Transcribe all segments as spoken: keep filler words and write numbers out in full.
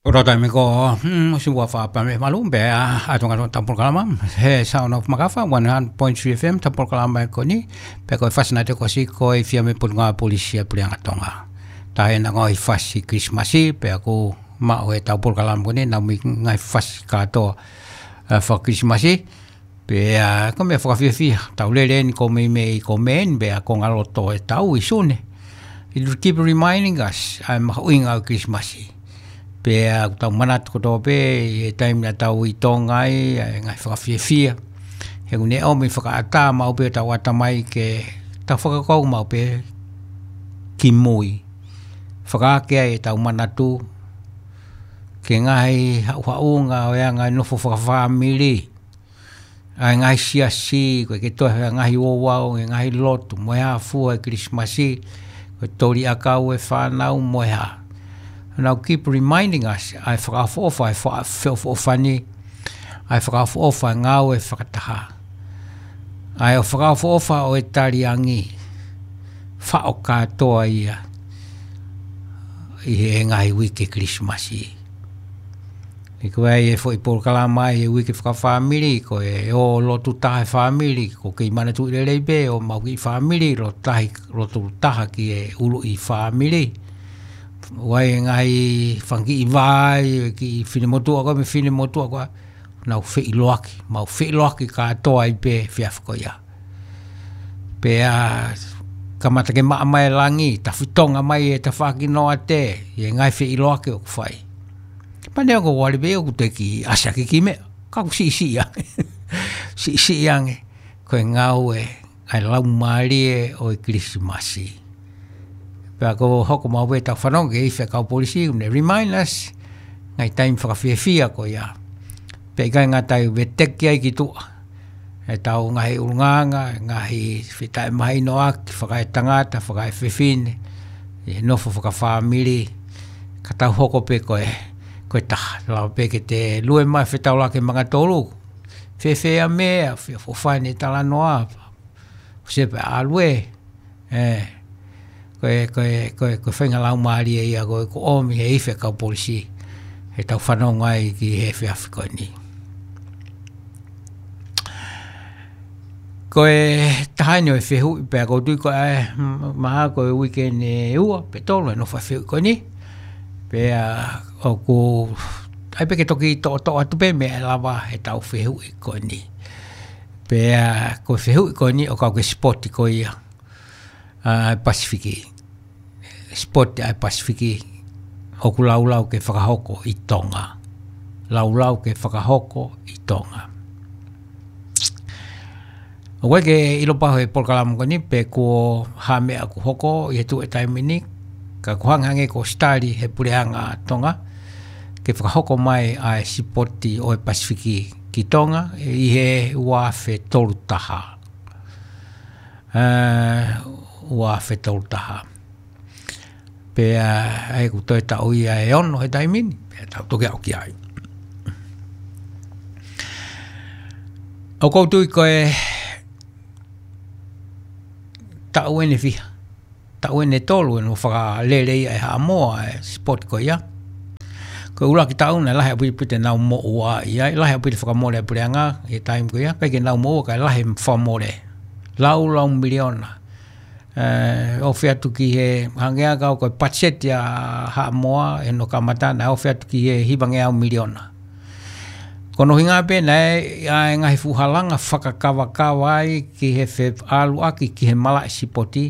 Polokalama ko, hmm, si ua fa pa me malu, pea, a, ʻa Tonga Tau Polokalama, he Sound of Makafa, one hundred point three F M, Tau Polokalama ko eni, pea ko e fasi naʻe toki ʻosi ko e Fiame Potungāue Polisi ʻa e Puleʻanga Tonga. Taʻe na ngaahi fasi Kilisimasi, pea ko maʻu ʻe he Tau Polokalama ko eni, naʻa mei ngaahi fasi kātoa, ʻa, faka-Kilisimasi, pea ko e meʻa fakafiefia, tau lele eni ko e meimei ko e meʻa eni, pea ko e ngaloto ʻetau ʻi Sune. It will keep reminding us, ʻa e mahuʻinga ʻo e Kilisimasi. Pea ʻoku tau manatu kotoa pē, ʻi he taimi naʻa tau ʻi Tonga ai, ʻa e ngaahi fakafiefia. He ʻoku ne ʻomi fakaʻatā maʻu pē ʻetau ʻatamai ke tau fakakaukau maʻu pē ki mui. Fakaake ai ʻetau manatu, ki he ngaahi haʻuhaʻunga ʻo e anga e nofo fakafāmili. ʻA e ngaahi siasi, ko e ke toe he ngaahi ouau, he ngaahi lotu, mo e hā fua e Kilisimasi, ko e toli ʻakau e fānau, mo e hā. Now keep reminding us, ʻa e fakaʻofoʻofa, ʻa e fa-, feʻofoʻofani, ʻa e fakaʻofoʻofa, ʻa e ngāue fakataha. ʻA e ʻo fakaʻofoʻofa ʻo e taliangi, faʻo kātoa ia, ʻi he ngaahi uike Kilisimasi. ʻI ko ai e foʻi polokalama ʻi he uike fakafāmili, ko e ō lotu taha e fāmili, ko e kei manatuʻi lelei pē, ʻo maʻu kiʻi fāmili, lotu tahi, lotu taha ki he ʻuluʻi fāmili. ʻOku ʻi ai e ngaahi fanga kiʻi vai, kiʻi finemotuʻa ko ē, mo e finemotuʻa ko ē, nau feʻiloaki, mau feʻiloaki kātoa ai pē he efiafi ko ia. Pea kamata ke maʻa mai e langi, tafitonga mai e tafaʻaki noate, ʻi he ngaahi feʻiloaki ʻoku fai. Pea neongo ʻoku ʻalu pē ʻoku teʻeki ʻasi ʻaki e kiʻi meʻa, ka ʻoku siʻisiʻi ange. Siʻisiʻi ange, ko e ngāue, ʻa e laumālie ʻo e Kilisimasi. Pea ko e hoko maʻu pē ʻetau fanongo ki he ifi ʻa e kau polisi, ʻoku ne remind us, ngaahi taimi fakafiefia ko ia. Pea ʻikai ngata ai, veteki ai ki tuʻa ʻetau ngaahi ʻulungaanga, ngaahi fetaʻemahinoʻaki, fakaetangata, fakaefefine, ʻi he nofo fakafāmili, ka tau hoko pē ko e, ko e taha, lava pē ke te lue mai fetaulaki manga tolu, fēfē ʻa e meʻa, feʻofoʻofani e talanoa, ʻo se pē ʻalu ē, ē, ko e, ko e, ko e, ko e faʻahinga laumālie ia ko ē ʻoku ʻomi ʻe he ifi ʻa e kau polisi, heʻetau fanongo ai ki he efiafi ko eni. Ko e taha eni ʻo e fehuʻi pea ʻoku ou tui ko e, mm, mahalo ko e uike ʻe ua pe tolu ʻe nofo ai e fehuʻi ko eni. Pea ʻoku, ʻai pē ke toki toʻotoʻo atu pē meʻa ʻe lava heʻetau fehuʻi ko eni. Pea ko e fehuʻi ko eni ʻoku kau ki he sipoti ko ia ʻa e Pasifiki. Sipoti ʻa e Pasifiki ʻoku laulau ke fakahoko ʻi Tonga. Laulau ke fakahoko ʻi Tonga. ʻOku ʻikai ke ʻilo pau he polokalama ko eni pe ko e hā e meʻa ʻoku hoko ʻi he tuʻu ʻi he taimi ni, ka ʻoku hangehangē ko e sitali ʻe he Puleʻanga Tonga ke fakahoko mai ʻa e sipoti ʻo e Pasifiki ki Tonga ʻi he ua afe tolu taha. Ē, ua afe tolu taha. Pea ʻa ia ʻoku toe taʻu ia ʻe ono he taimi ni, pea tau toki aʻu ki ai. ʻOku ou tui ko e taʻu eni ʻe fiha, taʻu eni ʻe tolu ʻene fakalele ai ʻe Haʻamoa e sipoti ko ia. Ko e ʻuluaki taʻu naʻe lahi ʻaupito ʻenau moʻua ia, lahi ʻaupito e fakamole ʻa e Puleʻanga ʻi he taimi ko ia, ʻikai ke nau moʻua, ka e lahi e fakamole. Laulau miliona. Ē, ofi atu ki he, hangē ʻa e kau ko e patiseti ʻa Haʻamoa, ʻi hono kamata naʻe ofi atu ki he hivangeau miliona. Ko hono ʻuhinga pē naʻe ʻi ai e ngaahi fuʻu halanga fakakavakava ai ki he feʻaluʻaki ki he malaʻe sipoti,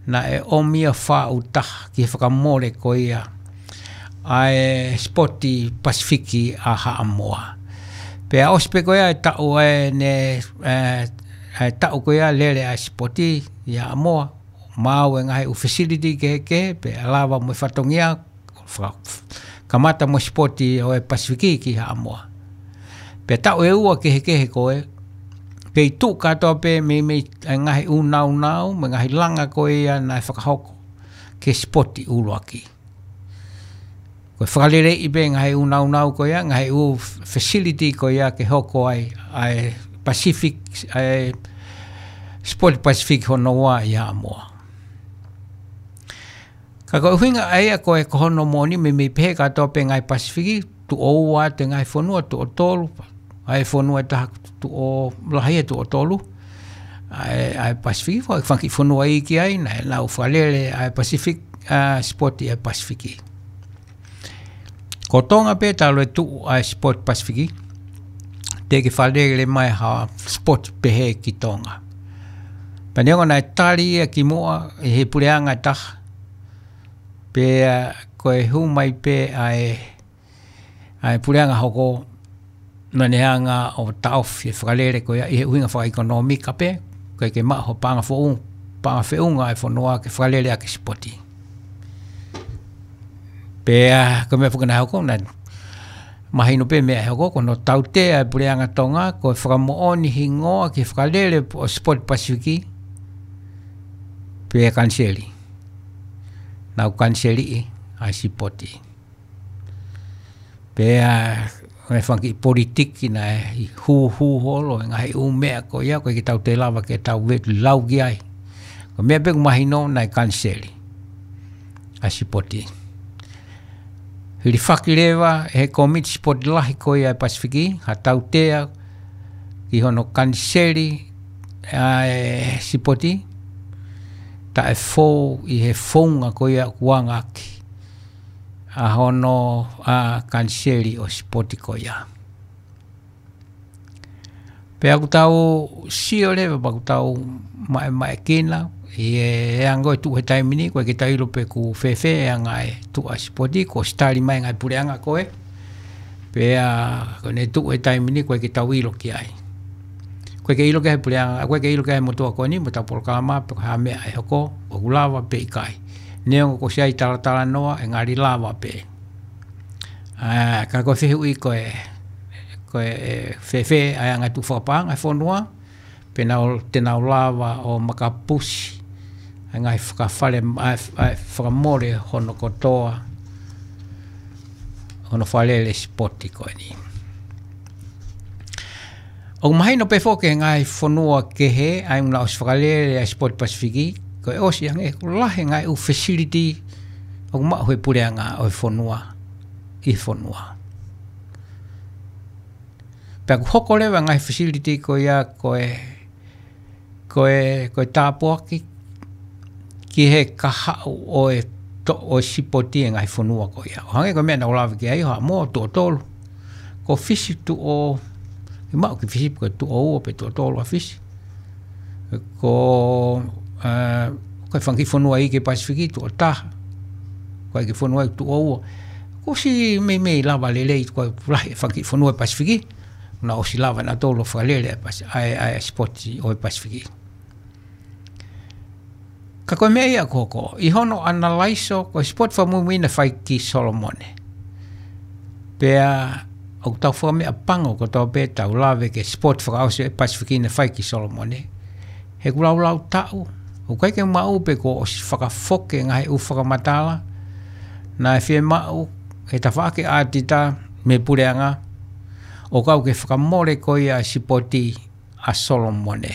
naʻe ʻomi ia faʻu taha ki he fakamole ko ia ʻa e sipoti Pasifiki ʻa Haʻamoa. Pea ʻosi pē ko ia e taʻu ʻe ne, ē, ʻa e taʻu ko ia lele ʻa e sipoti ʻi Haʻamoa, maʻu e ngaahi ʻū facility kehekehe, pea lava mo e fatongia, fa-, kamata mo e sipoti ʻo e Pasifiki ki Haʻamoa. Pea taʻu ʻe ua kehekehe ko ē, pea tuʻu kātoa pē meimei e ngaahi ʻū nāunau, mo e ngaahi langa ko ia naʻe fakahoko ki he sipoti ʻuluaki. Ko e fakaleleiʻi pē ngaahi ʻū nāunau ko ia, ngaahi ʻū facility ko ia ke hoko ai ʻa e Pacific, ʻa e sipoti Pasifiki hono ua ʻi Haʻamoa. Ka ko e ʻuhinga ʻa ia ko e ko hono moʻoni meimei pehē kātoa pē ngaahi Pasifiki, tuʻo ua atu e ngaahi fonua, tuʻo tolu, ʻa e fonua ʻe taha tuʻo lahi ʻe tuʻo tolu, ʻa e, ʻa e Pasifiki, fo-, fanga kiʻi fonua iiki ai, naʻa nau fakalele ʻa e Pacific, ʻa e sipoti ʻa e Pasifiki. Ko Tonga pē talu e tuʻu ʻa e sipoti Pasifiki, teʻeki fakalele mai ha sipoti pehē ki Tonga. Pea neongo naʻe tali ia kimuʻa ʻe he puleʻanga ʻe taha, pea ko e hū mai pē ʻa e, ʻa e puleʻanga hoko, naʻa ne hanga ʻo taʻofi e fakalele ko ia ʻi he ʻuhinga fakaʻekonōmika pē, ʻoku ʻikai ke maʻu ha paʻanga foʻou, paʻanga feʻunga ʻa e fonua ke fakalele ʻaki e sipoti. Pea ko e meʻa foki naʻe hoko, naʻe mahino pē meʻa ʻe hoko, ko hono tautea ʻa e puleʻanga Tonga, ko e fakamoʻoni hingoa ki he fakalele ʻo e sipoti Pasifiki, pea kaniseli. Nau kaniseliʻi ʻa e sipoti. Pea, ʻa e fanga kiʻi politiki naʻe hūhū holo, e ngaahi ʻū meʻa ko ia, ʻoku ʻikai ke tau toe lava ke tau lau ki ai. Ko e meʻa pē ʻoku mahino naʻe kaniseli ʻa e sipoti. Hilifaki leva ʻe he kōmiti sipoti lahi ko ia ʻa e Pasifiki, ha tautea ki hono kaniseli ʻa e sipoti, taʻefou ʻi he founga ko ia ʻoku anga ʻaki ʻa hono, ʻa, kaniseli ʻo e sipoti ko ia. Pea ʻoku tau sio leva, pea ʻoku tau maʻemaʻekina, ʻi he anga ʻo e tuʻu he taimi ni, ʻoku ʻikai ke tau ʻilo pe ʻoku fēfē e anga e tuʻu ʻa e sipoti, kuo ʻosi tali mai e ngaahi puleʻanga ko ē. Pea ko ʻene tuʻu he taimi ni, ʻoku ʻikai ke tau ʻilo ki ai. ʻOku ʻikai ke ʻilo ki ai e puleʻanga, ʻoku ʻikai ke ʻilo ki ai e motuʻa ko eni, mo ʻetau polokalama, pe ko e hā e meʻa ʻe hoko, ʻoku lava pe ʻikai. Neongo kuo ʻosi ʻi ai e talatalanoa, ʻe ngali lava pē. ʻA, ka ko e fehuʻi ko e, ko e, ʻe fēfē ʻa e anga e tuʻu fakapaʻanga ʻa e fonua, pe nau, te nau lava ʻo makapusi ʻa e ngaahi fakafale, ʻa e, ʻa e fakamole hono kotoa, hono fakalele sipoti ko eni. ʻOku mahino pē foki e ngaahi fonua kehe, ʻa ia naʻa nau ʻosi fakalele ʻa e sipoti Pasifiki, ko e ʻosi ange, ʻoku lahi e ngaahi ʻū facility ʻoku maʻu ʻe he puleʻanga ʻo e fonua, ʻi he fonua. Pea ʻoku hoko leva e ngaahi facility ko ia ko e, ko e, ko e tāpuaki ki he kahaʻu ʻo e to-, ʻo e sipoti ʻa e ngaahi fonua ko ia. ʻO hangē ko e meʻa naʻa ku lave ki ai, Haʻamoa tuʻo tolu. Ko Fisi tuʻo, ʻikai maʻu ki Fisi pe ko e tuʻo ua pe tuʻo tolu ʻa Fisi. Ko, ʻa, ko e fanga kiʻi fonua iiki Pasifiki tuʻo taha. Ko e kiʻi fonua tuʻo ua. Kuo ʻosi meimei lava lelei, ko e lahi e fanga kiʻi fonua Pasifiki. Naʻa nau ʻosi lava nautolu ʻo fakalele ʻa e Pasi-, ʻa e, ʻa e sipoti ʻo e Pasifiki. Ka ko e meʻa ia ʻoku hoko, ʻi hono ʻanalaiso, ko e sipoti fakamuimui naʻe fai ki Solomone. Pea ʻoku tau fakameʻapango kotoa pē ʻetau lave ki he sipoti fakaʻosi ʻo e Pasifiki naʻe fai ki Solomone. He ʻoku laulau taʻu, ʻoku ʻikai ke maʻu pe kuo ʻosi fakafoki e ngaahi ʻū fakamatala naʻe fiemaʻu ʻe he tafaʻaki ʻātita mei he puleʻanga, ʻo kau ki he fakamole ko ia ʻa e sipoti ʻa Solomone.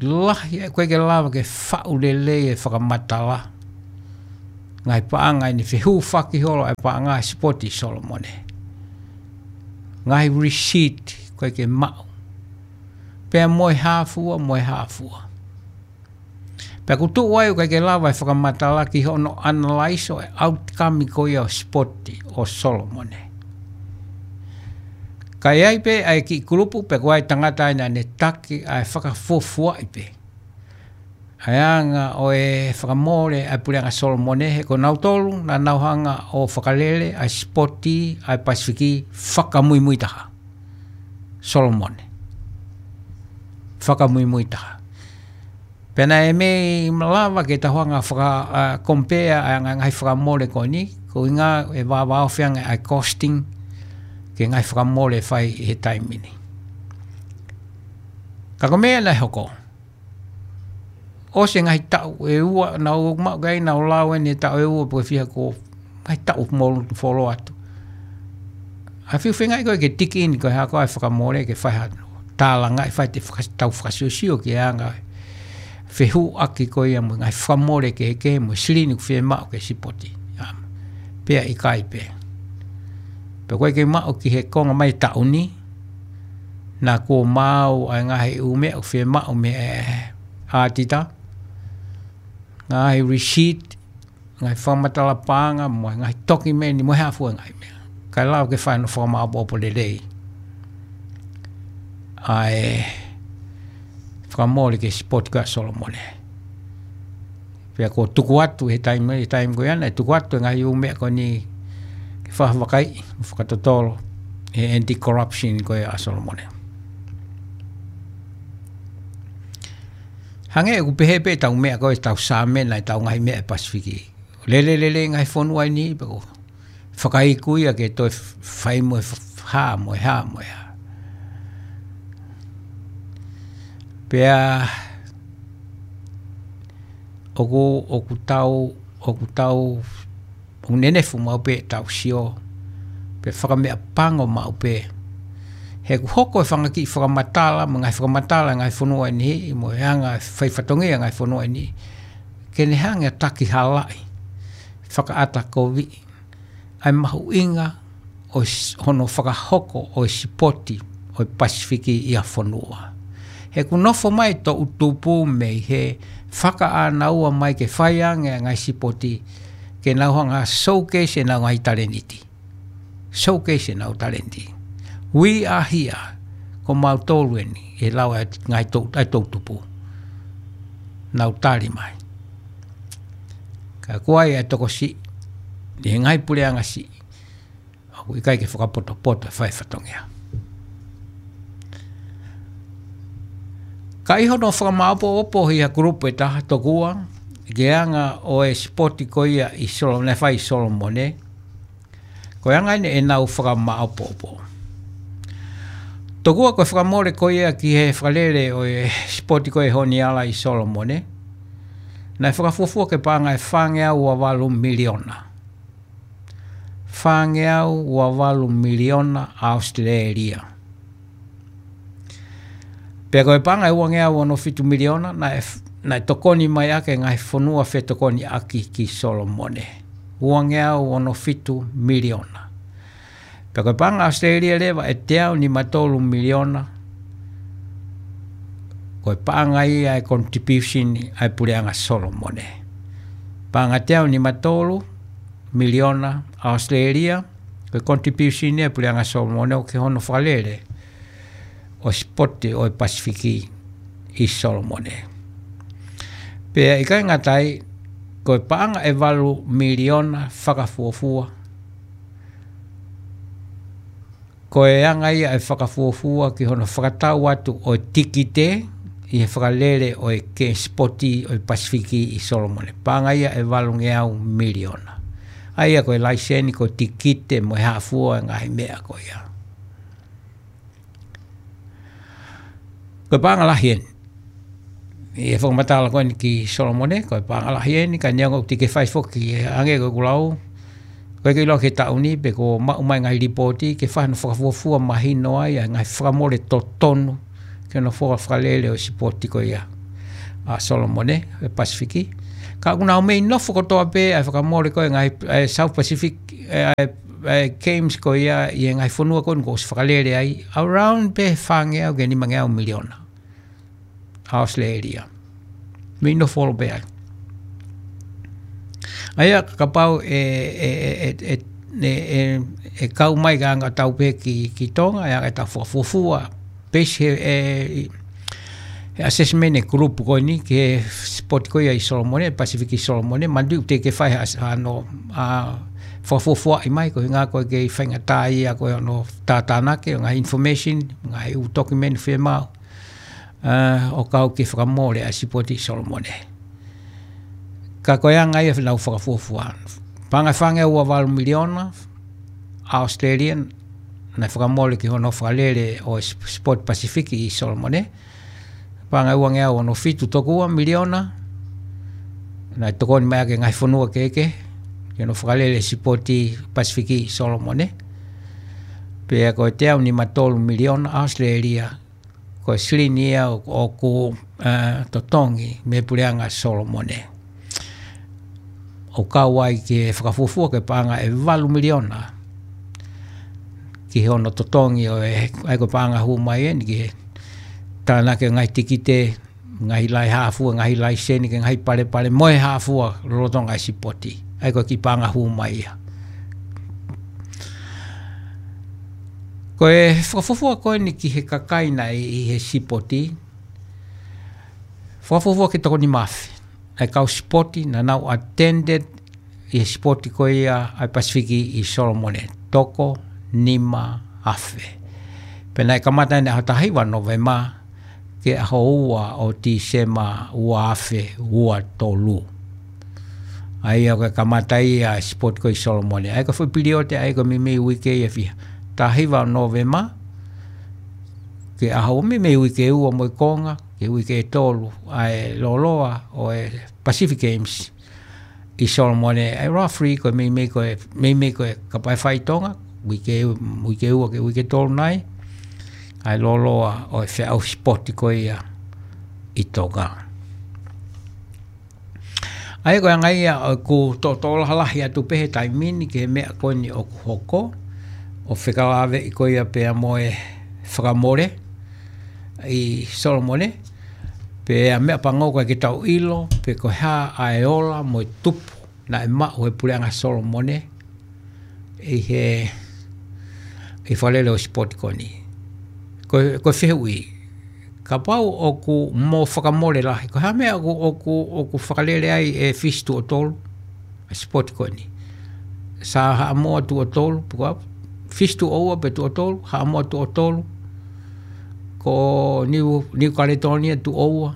Lahi, ʻoku ʻikai ke lava ke faʻu lelei e fakamatala. Ngaahi paʻanga ʻi he fehūfaki holo ʻa e paʻanga ʻa e sipoti ʻa Solomone. Ngaahi receipt ʻoku ʻikai ke maʻu. Pea mo e hā fua, mo e hā fua. Pea ʻoku tuʻu ai ʻoku ʻikai ke lava e fakamatala ki hono ʻanalaiso e outcome ko ia ʻo e sipoti ʻo Solomone. Ka ʻi ai pē ʻa e kiʻi kulupu pe ko e tangata ʻi ai naʻa ne taki ʻa e fakafuofuaʻi pē ʻa e anga ʻo e fakamole ʻa e puleʻanga Solomone, he ko nautolu naʻa nau hanga ʻo fakalele ʻa e sipoti ʻa e Pasifiki fakamuimui taha. Solomone. Fakamuimui taha. Pea naʻe mei lava ke tau hanga faka, ʻa, compare ʻa e ngaahi fakamole ko eni, ko e ʻuhinga ʻe vāvāofi ange ʻa e costing ki he ngaahi fakamole ʻe fai ʻi he taimi ni. Ka ko e meʻa naʻe hoko, ʻosi e ngaahi taʻu ʻe ua, naʻa ku maʻu ki ai, naʻa ku lau eni e taʻu ʻe ua pe ko e fiha, ko e ngaahi taʻu mo folo atu. ʻA e fiu feingaʻi ko ē ke tiki eni ko e hā ko ā e fakamole ke fai ha tālangaʻi, fai ʻete faka-, tau fakasiosio ki he anga fehuʻaki ko ia mo e ngaahi fakamole kehekehe mo e silini ʻoku fiemaʻu ki he sipoti. ʻA, pea ʻikai pē. Pea ko e ke maʻu ki he konga mai taʻu ni, naʻa kuo maau ʻa e ngaahi ʻū meʻa ʻoku fiemaʻu mei he ʻaotita, ngaahi receipt, ngaahi fakamatala paʻanga, mo e ngaahi tokimeni, mo e hā fua e ngaahi meʻa. Kae lava ke fai hono fakamāʻopoʻopo lelei ʻa e fakamole ki he sipoti ko ia ʻa Solomone. Pea kuo tuku atu he taimi, he taimi ko ia naʻe tuku atu e ngaahi ʻū meʻa ko eni ke fakavakai, fakatotolo he anti-corruption ko ia ʻa Solomone. Hangē ʻoku pehē pē ʻetau meʻa ko ē, ʻetau sāmena ʻetau ngaahi meʻa ʻi he Pasifiki. Lele lelei ngaahi fonua ni, pea ko e fakaiku ia ke toe fai mo e f-, hā mo e hā mo e hā. Pea ʻoku, ʻoku tau, ʻoku tau, ʻoku nenefu maʻu pē ʻetau sio, pea fakameʻapango maʻu pē. He ʻoku hoko e fanga kiʻi fakamatala, mo e ngaahi fakamatala e ngaahi fonua ni, mo e anga e faifatongia e ngaahi fonua ni, ke ne hanga ʻo takihalaʻi, fakaʻatakoviʻi ʻa e mahuʻinga ʻo e s-, hono fakahoko ʻo e sipoti ʻo e Pasifiki ʻi ha fonua. He ʻoku nofo mai toʻutupu mei he fakaʻānaua mai ke fai ange ʻa e ngaahi sipoti, ke nau hanga ʻo showcase ʻenau ngaahi talēniti. Showcase ʻenau talēniti. We are here, ko mautolu eni, ʻe lau ʻa e ngaahi tou-, ʻa e toʻutupu. Nau tali mai. Ka ko e ʻai ʻa e tokosiʻi, ʻi he ngaahi puleʻanga siʻi, ʻoku ʻikai ke fakapotopoto e faifatongia. Ka ʻi hono fakamāʻopoʻopo ʻi ha group ʻe taha tokua, ki he anga ʻo e sipoti ko ia ʻi Solo-, naʻe fai ʻi Solomone, ko e anga eni ʻenau fakamāʻopoʻopo. Tokua ko e fakamole ko ia ki he fakalele ʻo e sipoti ko e Honiala ʻi Solomone, naʻe fakafuofua ki he paʻanga ʻe fāngeau ua valu miliona. Fāngeau ua valu miliona ʻAositelēlia. Pea ko e paʻanga ʻe uangeau ono fitu miliona, naʻe f-, naʻe tokoni mai ʻaki e ngaahi fonua fetokoniʻaki ki Solomone. Uangeau ono fitu miliona. Pea ko e paʻanga ʻAositelēlia leva ʻe teau nima tolu miliona, ko e paʻanga ia e contribution ʻa e puleʻanga Solomone. Paʻanga teau nima tolu miliona ʻAositelēlia, ko e contribution ia e puleʻanga Solomone ʻo ki hono fakalele ʻo e sipoti ʻo e Pasifiki ʻi Solomone. Pea ʻikai ngata ai, ko e paʻanga ʻe valu miliona fakafuofua, ko e anga ia e fakafuofua ki hono fakatau atu ʻo e tikite ʻi he fakalele ʻo e ke sipoti ʻo e Pasifiki ʻi Solomone. Paʻanga ia ʻe valungeau miliona. ʻA ia ko e laiseni, ko e tikite mo e hā fua e ngaahi meʻa ko ia. Ko e paʻanga lahi eni. ʻI he fakamatala ko eni ki Solomone, ko e paʻanga lahi eni, ka neongo ʻoku teʻeki ke fai foki, hangē ko ʻeku lau, ko e ke ʻilo ki he taʻu ni, pe kuo maʻu mai ngaahi lipooti, ke fai hono fakafuofua mahino ai ʻa e ngaahi fakamole totonu ki hono fua fakalele ʻo e sipoti ko ia ʻa Solomone, e Pasifiki. Ka ʻoku nau mei nofo kotoa pē ʻa e fakamole ko e ngaahi, ʻa e South Pacific, ʻa e, ʻa e games ko ia ʻi he ngaahi fonua ko eni kuo ʻosi fakalele ai, around pē fāngeau ki he nimangeau miliona ʻAositelēlia. Mei nofo holo pē ai. ʻA ia kapau ʻe, ʻe, ʻe kau mai ka anga tau pē ki, ki Tonga, ʻe anga tau fakafuofua, pesi he, ʻe, he assessment e group ko eni, ki he sipoti ko ia ʻi Solomone, Pasifiki ʻi Solomone, manatuʻi ʻoku teʻeki ke fai ha, ha no, ʻa, fakafuofuaʻi mai, ko e ʻuhinga ko e kei faingataʻa ia ko e hono tātānaki, ngaahi information, ngaahi ʻū document fiemaʻu, ʻa, ʻo kau ki he fakamole ʻa e sipoti ʻi Solomone. Ka ko e anga ia ʻenau fakafuofua. Paʻanga ʻe fāngeau ua valu miliona ʻAositelēlia, naʻe fakamole ki hono fakalele ʻo e sip-, sipoti Pasifiki ʻi Solomone. Paʻanga ʻe uangeau ono fitu tokua miliona, naʻe tokoni mai ʻaki e ngaahi fonua kehekehe ki hono fakalele e sipoti Pasifiki ʻi Solomone. Pea ko e teau nima tolu miliona ʻAositelēlia, Ko e silini ia ʻoku, ʻoku, ē, totongi mei he Puleʻanga Solomone. ʻOku kau ai ki he fakafuofua ki he paʻanga ʻe valu miliona ki hono totongi ʻo e, ʻa ia ko e paʻanga hū mai eni ki he tānaki e ngaahi tikite, ngaahi laihāfua, ngaahi laiseni, ki he ngaahi palepale mo e hā fua lolotonga e sipoti. ʻA ia ko e kiʻi paʻanga hū mai ia. Ko e fakafuofua ko eni ki he kakai naʻe ʻi he sipoti, fakafuofua ki he toko nima afe ʻa e kau sipoti naʻa nau attended ʻi he sipoti ko ia ʻa e Pasifiki ʻi Solomone, toko nima afe. Pea naʻe kamata eni he ʻaho taha hiva Nōvema ki he ʻaho ua ʻo Tīsema ua afe ua tolu. ʻA ia ko e kamata ia e sipoti ko ē ʻi Solomone. ʻA ia ko e foʻi pilioti ʻa ia ko e meimei uike ia ʻe fiha. Taha hiva Nōvema ki he ʻaho, meimei uike ua mo e konga, ki he uike ʻe tolu, ʻa e lōloa ʻo e Pacific Games ʻi Solomone, ʻa e referee ko e meimei ko e, meimei ko e kapa ʻe fā ʻi Tonga, uike, uike ua ki he uike tolu nai, ʻa e lōloa ʻo e feʻauhi sipoti ko ia ʻi Tonga. ʻA ia ko e anga ia ʻoku toʻotoʻo lahi atu pē he taimi ni ki he meʻa ko eni ʻoku hoko, ʻo fekauʻaki ko ia pea mo e fakamole ʻi Solomone, pea meʻapango ko ē ke tau ʻilo pe ko e hā ʻa e ola mo e tupu naʻe maʻu he Puleʻanga Solomone ʻi he, ʻi he fakalele ʻo e sipoti ko eni. Ko, ko e fehuʻi, kapau ʻoku mo fakamole lahi, ko e hā e meʻa ʻoku, ʻoku, ʻoku fakalele ai ʻe Fisi tuʻo tolu ʻa e sipoti ko eni? Sā Haʻamoa tuʻo tolu, pe ko Fisi tuʻo ua pe tuʻo tolu, Haʻamoa tuʻo tolu, ko Niu, Niu Kaletonia tuʻo ua,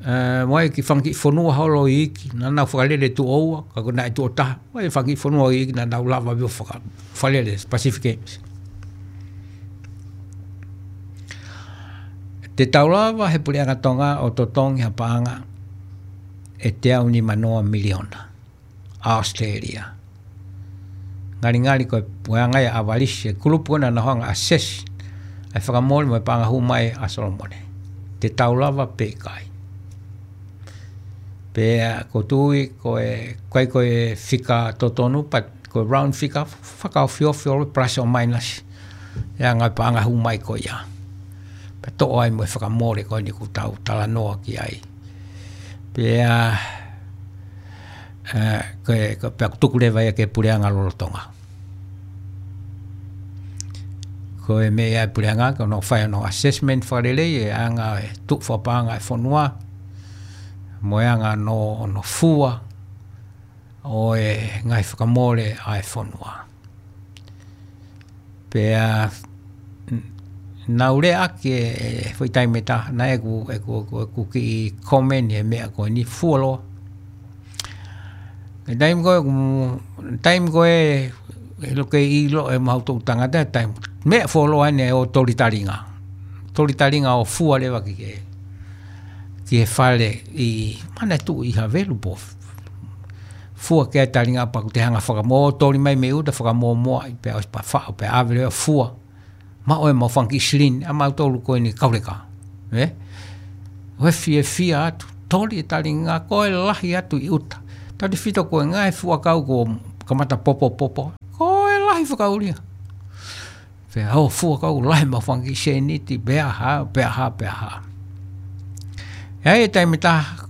ē, mo e kiʻi fanga kiʻi fonua holo iiki naʻa nau fakalele tuʻo ua, ka ko e naʻe tuʻo taha, mo e fanga kiʻi fonua iiki naʻa nau lava ʻo faka-, fakalele Pacific Games. Te tau lava he Puleʻanga Tonga ʻo totongi ha paʻanga ʻe teau nimanoa miliona ʻAositelēlia. Ngalingali ko e puleʻanga ia ʻa Valisi, e kulupu ko ē naʻa nau hanga ʻo assess ʻa e fakamole mo e paʻanga hū mai ʻa Solomone. Te tau lava pe ʻikai? Pea ʻoku ou tui ko e, ʻikai ko e fika totonu, but ko e round fika, fakaofiofi ʻo plus or minus ʻa e ngaahi paʻanga hū mai ko ia. Pea toʻo ai mo e fakamole ko eni ʻoku tau talanoa ki ai. Pea, ē, ko e, ko e pea ʻoku tuku leva ia ki he puleʻanga lolotonga. Ko e meʻa ia ʻa e puleʻanga, ko hono fai hono assessment fakalelei e anga e tuʻu fakapaʻanga e fonua, mo e anga hono, hono fua ʻo e ngaahi fakamole ʻa e fonua. Pea, n-, naʻa ku lea ʻaki e, e foʻi taimi ʻe taha, naʻe ʻeku, ʻeku, ʻeku, ʻeku kiʻi comment he meʻa ko eni, fuoloa. Ko e taimi ko ē, mm, taimi ko ē, ʻilo ke ʻilo ʻe mautolu tangata, taimi, meʻa fuoloa eni ʻo toli talinga. Toli talinga ʻo fua leva ki he, ki he fale ʻi, mana tuʻu ʻi Havelu pe fua ki ai talinga pea ʻoku te hanga fakamoʻoni, toli mai mei ʻuta fakamoʻomoʻa, pea ʻosi pea faʻo, pea ʻave leva fua. Maʻu ʻemau fanga kiʻi silini, ʻa mautolu ko eni kauleka. Ē? ʻOku fiefia atu, toli e talinga, ko e lahi atu ʻi ʻuta. Tautefito ko e ngaahi fuakau kuo kamata popopopo. Ko e lahi fakaʻulia. Pea ʻo fuakau lahi mo e fanga kiʻi sēniti, pea hā, pea hā, pea hā. ʻI he taimi ʻe taha,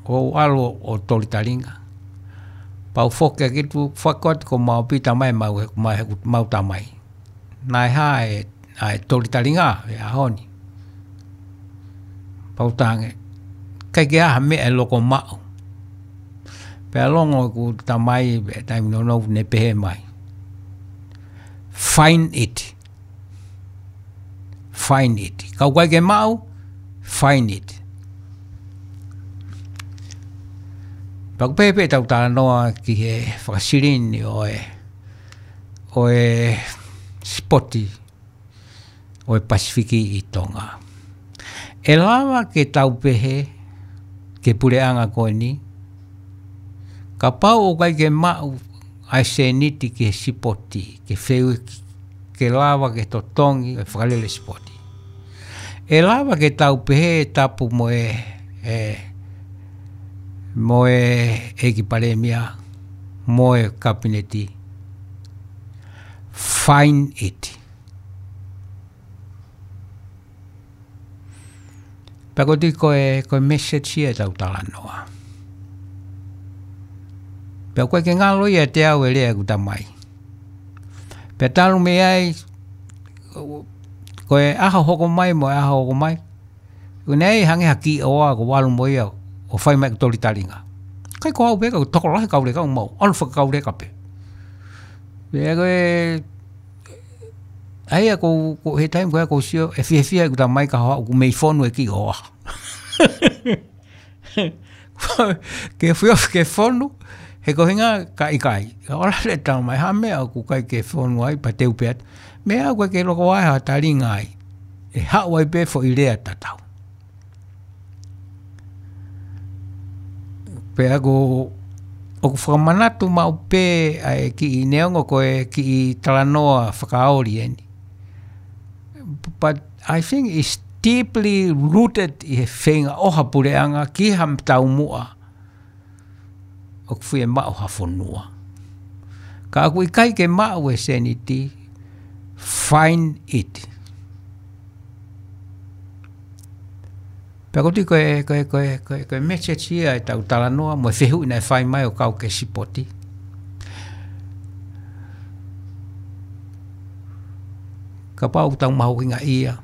ʻoku ou ʻalu ʻo toli talinga. Pea u foki ki tuʻa, foki atu ko Maʻopita mai mau, mau, mau tamai. Naʻe hā e, ʻa e toli talinga he ʻaho ni. Pea u talaange, ʻikai ke ʻi ai ha meʻa ʻe loko maʻu. Pea longo ʻeku tamai, pea taimi nounou ne pehē mai, "Find it. Find it. Kapau ʻoku ʻikai ke maʻu, find it." Pea ʻoku pehē pē ʻetau talanoa ki he fakasilini ʻo e, ʻo e sipoti ʻo e Pasifiki ʻi Tonga. ʻE lava ke tau pehē ki he puleʻanga ko eni, kapau ʻoku ʻikai ke maʻu ʻa e sēniti ki he sipoti, ke feu-, ke lava ke totongi e fakalele sipoti. ʻE lava ke tau pehē tapu mo e, e, mo e ʻEiki Palēmia, mo e Kapineti. Find it. Pea ko e tui ko e, ko e message ia ʻetau talanoa. Pea ko e ke ngalo ia te au e lea ʻeku tamai. Pea talu mei ai, ko e ʻaho hoko mai mo e ʻaho hoko mai. Ko e nei hangē ha kiʻi ʻoa ko ʻalu mo ia ʻo fai mai ʻeku toli talinga. ʻIkai ko au pē ka ko e tokolahi kau leka ʻoku mau ʻalu fakakauleka pē. Pea ko e, ʻa ia ko, ko he taimi ko ia ʻoku ou sio, ʻe fiefia ʻeku tamai ka haʻu ʻoku mei fonu e kiʻi ʻoa. Ke fio ke fonu, he ko e ʻuhinga ka ʻikai. Ka ʻoku lele tamai, ha meʻa ʻoku ʻikai ke fonu ai, pea te u pehē atu. Meʻa ʻoku ʻikai ke loko ai ha talinga ai. ʻE haʻu ai pē foʻi lea tatau. Pea ko, ʻoku fakamanatu maʻu pē ʻa e kiʻi neongo ko e kiʻi talanoa fakaoli eni. But I think it's deeply rooted ʻi he feinga ʻo ha puleʻanga ki ha taumuʻa ʻoku fiemaʻu ha fonua. Ka ʻoku ʻikai ke maʻu e sēniti, find it. Pea ko e tui ko e, ko e, ko e, ko e, ko e message ia ʻetau talanoa, mo e fehuʻi naʻe fai mai ʻo kau ki he sipoti. Kapau ʻoku tau mahuʻingaʻia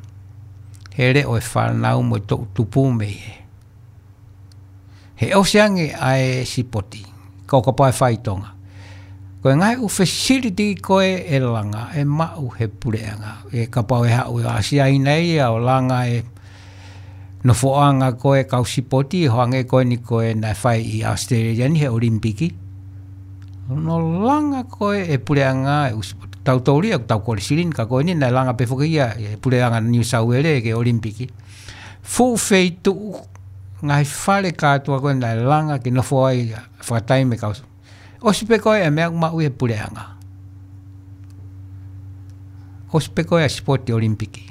he leʻo e fānau mo e toʻutupu mei he. He ʻosi ange ʻa e sipoti, ka ʻo kapau ʻe fai ʻi Tonga. Ko e ngaahi ʻū facility ko ē ʻe langa, ʻe maʻu he puleʻanga. ʻE kapau ʻe haʻu ʻa Siaina ia ʻo langa e nofoʻanga ko ē kau sipoti, ʻo hangē ko eni ko ē naʻe fai ʻi ʻAositelēlia ni he ʻOlimipiki. Hono langa ko ē ʻe puleʻanga e ʻū sipoti. Tau tōlia, tau kole silini, ka ko eni naʻe langa pē foki ia ʻe puleʻanga New South Wales ki he ʻOlimipiki. Fuʻu feituʻu ngaahi fale kātoa ko ē naʻe langa ke nofo ai fakataimi e kau. ʻOsi pē ko ē ʻa e meʻa ʻoku maʻu ʻi he puleʻanga. ʻOsi pē ko ē ʻa e sipoti ʻOlimipiki.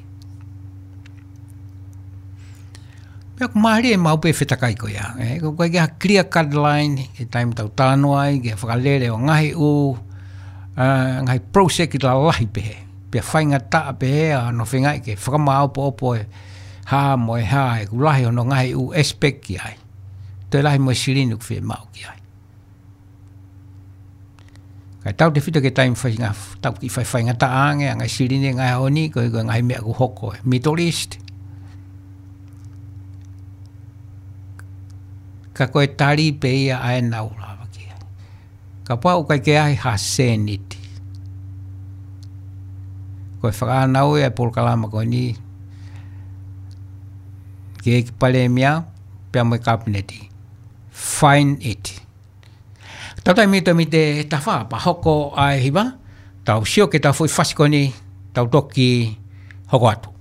Meʻa ʻoku mālie maʻu pē fetakai ko ia. ʻE, ko e ʻikai ke ha clear cut line, he taimi tau talanoa ai, ke fakalele ʻo ngaahi ʻū, ʻa, ngaahi project lalahi pehē. Pea faingataʻa pehē ʻa hono feingaʻi ke fakamāʻopoʻopo e hā mo e hā, ʻoku lahi hono ngaahi ʻū aspect ki ai. Toe lahi mo e silini ʻoku fiemaʻu ki ai. Kae tautefito ki he taimi faingataʻa, tau kiʻi fai faingataʻa ange, ʻa e ngaahi silini ngaahi ʻaho ni, ko e, ko e ngaahi meʻa ʻoku hoko ʻi he Middle East. Ka ko e tali pē ia ʻa ē naʻa ku lave ki ai. Kapau ʻoku ʻikai ke ʻi ai ha sēniti. Ko e fakaʻānaua e polokalama ko eni ki he ʻEiki Palēmia, pea mo e Kapineti. Find it. Tau taimi to mite tafa pea hoko ʻa e hiva, tau sio ki he foʻi fasi ko eni, tau toki hoko atu.